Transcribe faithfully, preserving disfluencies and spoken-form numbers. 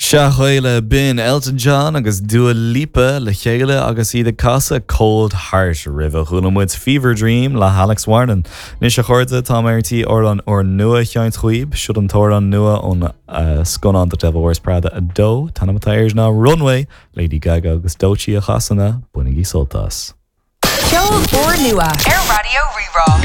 Sea, b'in Elton John agus Dua Lipa le chéile agus iad ag casadh Cold Heart roimhe chuala muid Fever Dream le Alex Warren. Anois a chairde tá mé ar tí amhrán úrnua a sheinnt daoibh, seo an t-amhrán nua ón uh, scannán The Devil Wears Prada a dó, Tá air ná Runway, Lady Gaga agus Doechii a chasann é, bainigí sult as. Ceol úrnua ar Raidió Rí-Rá.